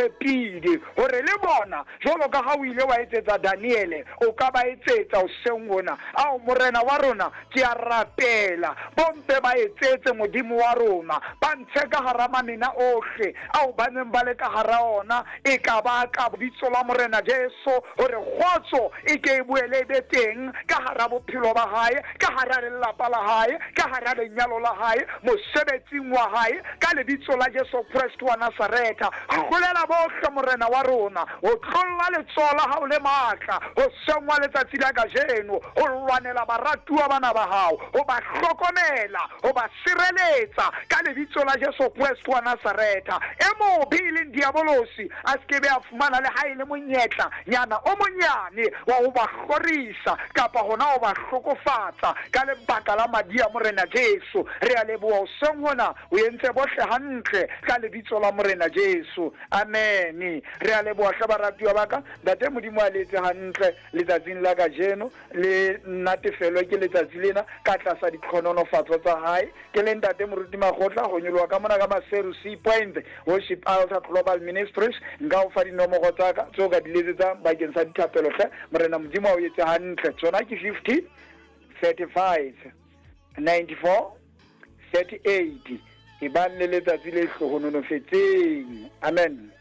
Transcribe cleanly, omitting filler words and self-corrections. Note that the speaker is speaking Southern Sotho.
tshepile hore le bona, jwalo ka ha o ile wa etsetsa Daniele, o ka ba etsetsa hoseng hona. Ao, Morena wa rona, ke a rapela, bo mpe ba etsetse, Modimo wa rona, ba ntshe ka hara mamena ohle ao ba neng ba le ka hara ona, e ka ba ka Bitso la Morena Jesu, hore kgotso e ke e boele e be teng ka hara bophelo ba hae, ka hara lelapa la hae, ka hara lenyalo la hae, mosebetsing wa hae, ka Lebitso la Jesu Kreste wa Nasaretha. Hlolela bohle, Morena wa rona, ho tlolla letsoho la hao le matla hoseng wa letsatsi la kajeno, ho lwanela baratuwa bana ba hao, ho ba hlokomela, ho ba sireletsa, ka Lebitso la Jesu Kreste wa Nasaretha. E mobe e leng Diabolosi a se ke be a fumana le ha e le monyetla nyana o monyane wa ho ba hlorisa kapa hona ho ba hlokofatsa, ka lebaka la madi a Morena Jesu. Re a leboha hoseng hona, o entse bohle hantle, ka Lebitso la Morena Jesu. Amene. Re a leboha hle baratuwa ba ka. Ntate Modimo a le etse hantle letsatsing la kajeno, le natefelwe ke letsatsi lena ka tlasa ditlhononofatso tsa hae. Ke le Ntate Moruti Makgotla, ho nyoloha ka mona ka Maseru Sea Point Worship Altar Global Ministries. Nka o fa dinomoro tsa ka tseo ka di letsetsang bakeng sa dithapelo hle. Morena Modimo a o etse hantle. Tsona ke 50 35 94 38. Ebang le letsatsi le hlohononofetseng. Amen.